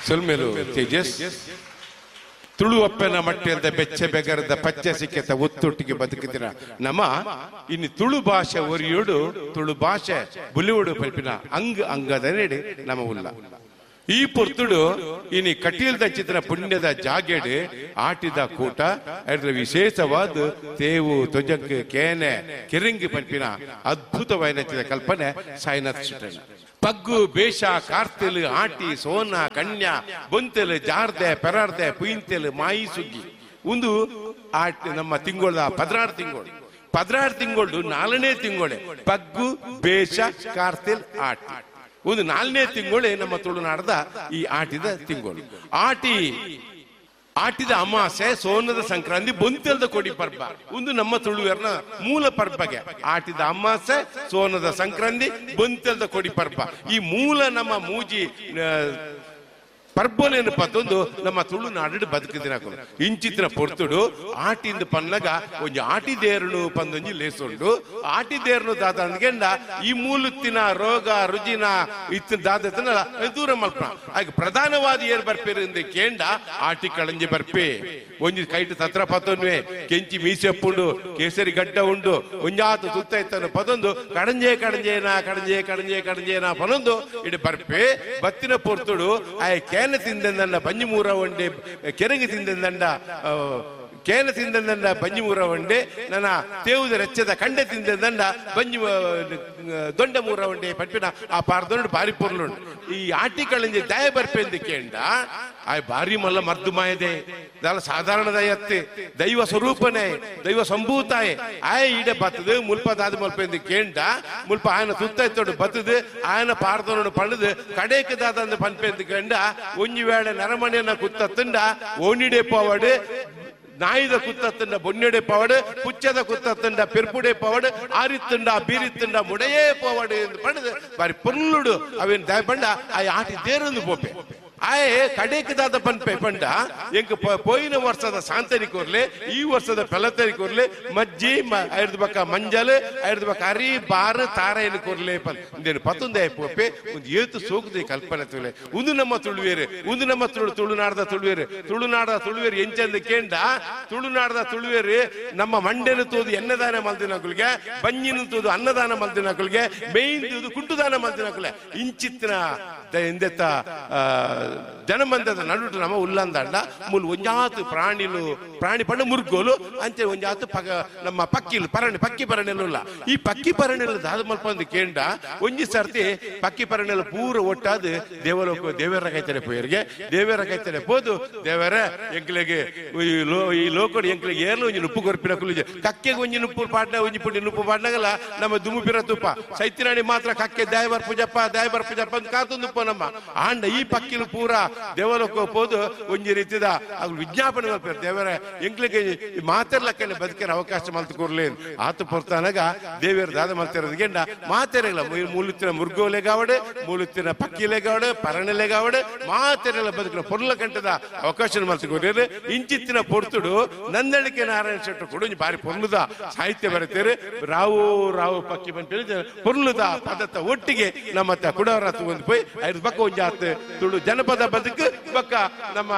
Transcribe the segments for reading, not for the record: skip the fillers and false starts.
ಸೊಲ್ಮೆಲು ತೇಜಸ್ ತುಳುವಪ್ಪನ ಮಟ್ಟಿಯದ ಬೆಚ್ಚ ಬೆಗರದ ಪಚ್ಚೆ ಸಿಕ್ಕೆತ ಒತ್ತೊಟ್ಟಿಗೆ ಬದುಕಿದಿರ ನಮ್ಮ ಇನ್ನು ತುಳು ಭಾಷೆ ಒರಿಯೋಡು ತುಳು ಭಾಷೆ ಬುಲಿವುಡು ಪಲ್ಪಿನ ಅಂಗ ಅಂಗದ ನೆಡೆ ನಮ್ಮ ಉಲ್ಲ. ಈ ಪೊರ್ತುಡು ಇನಿ ಕಟೀಲ್ದ ಚಿತ್ರ ಪುಣ್ಯದ ಜಾಗೆಡು ಆಟಿದ ಕೂಟ ಅದರ ವಿಶೇಷವಾದ ತೇವು ತೊಜಂಕ್ ಕೇನೆ ಕೆರಿಂಗಿ ಪಲ್ಪಿನ ಅದ್ಭುತವಾದ ಕಲ್ಪನೆ ಸಾಯಿನಾಥ್ ಶೆಟ್ಟಣ್ಣ. ಪಗ್ಗು ಬೇಷ ಕಾರ್ತೆಲು ಆಟಿ ಸೋನ ಕನ್ಯಾ ಬೊಂತೆಲು ಜಾರ್ದೆ ಪೆರಾರ್ದೆ ಪುಯಿಂತೆಲು ಮಾಯಿ ಸುಗ್ಗಿ ಒಂದು ಆಟಿ ನಮ್ಮ ತಿಂಗಳ 16 ತಿಂಗಳು 16 ತಿಂಗಳು 4ನೇ ತಿಂಗಳೇ ಪಗ್ಗು ಬೇಷ ಕಾರ್ತೆಲ್ ಆಟಿ ಒಂದು 4ನೇ ತಿಂಗಳೇ ನಮ್ಮ ತುಳುನಾಡದ ಈ ಆಟಿದ ತಿಂಗಳು. ಆಟಿ ಆಟಿದ ಅಮಾಸೆ ಸೋನದ ಸಂಕ್ರಾಂತಿ ಬೊಂತೆಲ್ದ ಕೊಡಿ ಪರ್ಬ ಒಂದು ನಮ್ಮ ತುಳುವೆರ್ನ ಮೂಲ ಪರ್ಬಗೆ. ಆಟಿದ ಅಮಾಸೆ ಸೋನದ ಸಂಕ್ರಾಂತಿ ಬೊಂತೆಲ್ದ ಕೊಡಿ ಪರ್ಬ ಈ ಮೂಲ ನಮ್ಮ ಮೂಜಿ ಪರ್ಬನೇನು ಪತ್ತೊಂದು ನಮ್ಮ ತುಳುನಾಡು ಬದುಕಿದಿನ ಇಂಚಿತ್ತಿನ ಪೊರ್ತುಡು ಆಟಿಂದ ಪನ್ನಗ ಒಂಜಿ ಆಟಿ ದೇರುನು ಪಂದೊಂಜಿ ಲೇಸುಂಡು. ಆಟಿ ದೇರುನು ದಾದ ಅಂದ್ಗೆಂಡ ಈ ಮೂಲುತ್ತಿನ ರೋಗ ರುಜಿನ ಇತ್ತಿನ ದಾದತನ ದೂರ ಮಲ್ಪ ಹಾಗೆ ಪ್ರಧಾನವಾದ ಏರ್ ಬರ್ಪೇರು ಇಂದ ಕೇಂಡ ಆಟಿ ಕಳಂಜಿ ಬರ್ಪೆ ಒಂಜಿ ಕೈಟ್ ತತ್ರ ಪತ್ತೊನ್ವೆ ಕೆಂಚಿ ಮೀಸೆಪ್ಪುಂಡು ಕೇಸರಿ ಗಡ್ಡ ಉಂಡು ಒಂಜಾತು ತುತ್ತ ಇತ್ತನು ಪದೊಂದು ಕಡಂಜೆ ಕಡಂಜೇನಾ ಕಡಂಜೆ ಕಡಂಜೆ ಕಡಂಜೇನಾ ಪನೊಂದು ಇಡು ಬರ್ಪೆ ಬತ್ತಿನ ಪೊರ್ತುಡು ಆಯ್ ಕೇನ ತಿಂದಂಡ ಬಂಜಿ ಮೂರ ಒಂಡೆ ಕೆರಂಗಿ ತಿಂದಂಡ ಕೇನ ತಿಂದಂಡ ಬಂಜಿ ಮೂರ ಒಂಡೆ ನನ್ನ ತೇವುದ ರೆಚ್ಚದ ಕಂಡೆ ತಿಂದಂಡ ಬಂಜಿ ದೊಂಡ ಮೂರ ಒಂಡೆ ಪಟ್ಪಿನ ಆ ಪಾರ್ದೊಂಡು ಬಾರಿ ಪೊರ್ಲುಂಡು. ಈ ಆಟಿ ಕಳಂಜಿ ದಯ ಬರ್ಪೆಂದು ಕೇಂಡ ಆಯ್ ಬಾರಿ ಮಲ್ಲ ಮರ್ದು ಮಾಯದೆ ದಾಲ ಸಾಧಾರಣ ದಯತ್ತೆ ದೈವ ಸ್ವರೂಪನೇ ದೈವ ಸಂಭೂತಾಯೆ ಆಯ್ ಈಡೆ ಬತ್ತದು ಮುಲ್ಪ ದಾದ ಮಲ್ಪೆಂದು ಕೇಂಡ ಮುಲ್ಪ ಆಯನ ತುತ್ತ ಬತ್ತದು ಆಯನ ಪಾರ್ದೊಂಡು ಪಂಡದು ಕಡೇಕ ದಾದ ಪನ್ಪೆಂದು ಕೇಂಡ ಒಂಜಿ ವೇಳೆ ನರಮನೆಯನ್ನ ಕುತ್ತತ್ತಂಡ ಓನಿಡೆ ಪವಾಡು ನಾಯಿದ ಕುತ್ತತ್ತಂಡ ಬೊನ್ನೆಡೆ ಪವಾಡು ಪುಚ್ಚದ ಕುತ್ತತ್ತಂಡ ಪೆರ್ಪುಡೆ ಪವಾಡು ಆರಿತ್ತಂಡ ಬೀರಿತ್ತಂಡ ಮುಡೆಯೇ ಪವಾಡು ಎಂದು ಪಂಡದು ಬಾರಿ ಪೊರ್ಲುಡು ಅವೇನು ದಯ ಪಂಡ ಆ ಆಟಿ ದೇರೊಂದು ಪೋಪೆ ಆಯೆ ಕಡೇಕದಾದ ಪನ್ಪೆ ಪಂಡ ಎಂಕ್ ಪೋಯಿನ ವರ್ಷದ ಸಾಂತರಿ ಕೋರ್ಲೆ ಈ ವರ್ಷದ ಪೆಲತರಿ ಕೋರ್ಲೆ ಮಜ್ಜಿ ಐದು ಬಕ್ಕ ಮಂಜಲ್ ಐದು ಬಕ್ಕ ಅರಿ ಬಾರು ತಾರೆಯನ್ನು ಕೋರ್ಲೆ ಪನ್ ಇಂದೇನು ಪತ್ತೊಂದೇ ಪೋಪೆ ಒಂದು ಏತು ಸೋಕುದೆ ಕಲ್ಪನೆ ತುಳೆ ಒಂದು ನಮ್ಮ ತುಳುವೇರು ಒಂದು ನಮ್ಮ ತುಳು ತುಳುನಾಡದ ತುಳುವೇರು ತುಳುನಾಡದ ತುಳುವೇರು ಎಂಚಂದ ಕೇಂಡ ತುಳುನಾಡದ ತುಳುವೇರು ನಮ್ಮ ಮಂಡೆನ ತೋದು ಎನ್ನದಾನ ಮಲ್ದಿನಕುಲ್ಗೆ ಬಂಜಿನ ತೋದು ಅನ್ನದಾನ ಮಲ್ದಿನಕುಲ್ಗೆ ಮೇಯ್ನ್ ತೋದು ಕುಂಟುದಾನ ಮಲ್ದಿನಕುಲೆ ಇಂಚಿತ್ತಿನ ಎಂದೆತ್ತ ಜನಮಂದದ ನಡುಟು ನಮ್ಮ ಉಲ್ಲಂದಂಡ ಮೂಲು ಒಂಜಾತು ಪ್ರಾಣಿಲು ಪ್ರಾಣಿ ಪಂಡ ಮುರ್ಗೋಲು ಅಂಚೆ ಒಂಜಾತು ಪಗ ನಮ್ಮ ಪಕ್ಕಿಲು ಪರಣಿ ಪಕ್ಕಿ ಪರಣೆಲ್ಲ. ಈ ಪಕ್ಕಿ ಪರಣೆಲ್ಲ ದಾದ ಮಲ್ಪ ಕೇಂಡ ಒಂಜಿ ಸರ್ತಿ ಪಕ್ಕಿ ಪರಣೆಲ್ಲ ಪೂರ ಒಟ್ಟಾದ ದೇವಲೋಕ ದೇವರ ಕೈತಾರೆ ಪೋಯರಿಗೆ ದೇವರ ಕೈತಾರೆ ಪೋದು ದೇವರ ಎಂಕ್ಲೆಗೆ ಈ ಲೋಕಡು ಎಂಕ್ಲೆಗೆ ಏರ್ಲು ಒಂಜಿ ನುಪ್ಪು ಕೊರ್ಪಿನ ಕುಲಿಜೆ ಕಕ್ಕೆಗೆ ಒಂಜಿ ನುಪ್ಪು ಪಾಡ್ನ ಒಂಜಿ ಪುಂಡಿ ನುಪ್ಪು ಪಾಡ್ನಾಗಲ್ಲ ನಮ್ಮ ದುಮ್ಮು ಪಿರ ತುಪ್ಪ ಸೈತಿರಾಣಿ ಮಾತ್ರ ಕಕ್ಕೆ ದಾಯಬರ್ ಪೂಜಪ್ಪ ದಾಯಬರ್ ಪೂಜಪ್ಪ ಅಂತ ಕಾತೊಂದು ನಮ್ಮ ಆಂಡ ಈ ಪಕ್ಕಿಲು ಪೂರ ದೇವಲೋಕ ಪೋದು ಒಂಜಿ ರೀತಿದ ಅವು ವಿಜ್ಞಾಪನೆ ಮಲ್ಪೇರು ದೇವರ ಎಂಕ್ಲೆಗೆ ಮಾತೆರ್ಲಕ್ಕನೆ ಬದುಕಿನ ಅವಕಾಶ ಮಲ್ತು ಕೊರ್ಲಿ ಆತು ಪೊರ್ತಾನಾಗ ದೇವಿಯರ ದಾದ ಮಲ್ತಿರೋದ್ಗೆಂಡ ಮಾತೆರೆಲ್ಲ ಮೂಲುತ್ತಿನ ಮುರ್ಗೋಲೆಗಾವಡೆ ಮೂಲುತ್ತಿನ ಪಕ್ಕಿಲೆಗಾವಡೆ ಪರಣೆಲೆಗಾವಡೆ ಮಾತೆರೆಲ್ಲ ಬದುಕಿನ ಪೊರ್ಲ ಗಂಟದ ಅವಕಾಶ ಮಲ್ತು ಕೊರ್ಲೇರು. ಇಂಚಿತ್ತಿನ ಪೊರ್ತುಡು ನಂದಳಿಕೆ ನಾರಾಯಣ ಶೆಟ್ಟರು ಕೊಡು ಬಾರಿ ಪೊರ್ಲುದ ಸಾಹಿತ್ಯ ಬರೀತಾರೆ ರಾವು ರಾವು ಪಕ್ಕಿ ಬಂತ ಪೊರ್ಲುದ ಪದತ್ತ ಒಟ್ಟಿಗೆ ನಮ್ಮ ಕುಡವರ ಒಂದು ಪೋಯ್ ಐದು ಬಕ್ಕ ಒಂಜಾತ್ ತುಳು ಜನಪದ ಬದುಕು ಬಕ್ಕ ನಮ್ಮ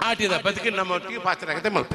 ಆಟಿದ ಬದುಕು ನಮ್ಮ ಒಟ್ಟಿಗೆ ಪಾತ್ರ ಆಗತ್ತೆ ಮಲ್ಪ.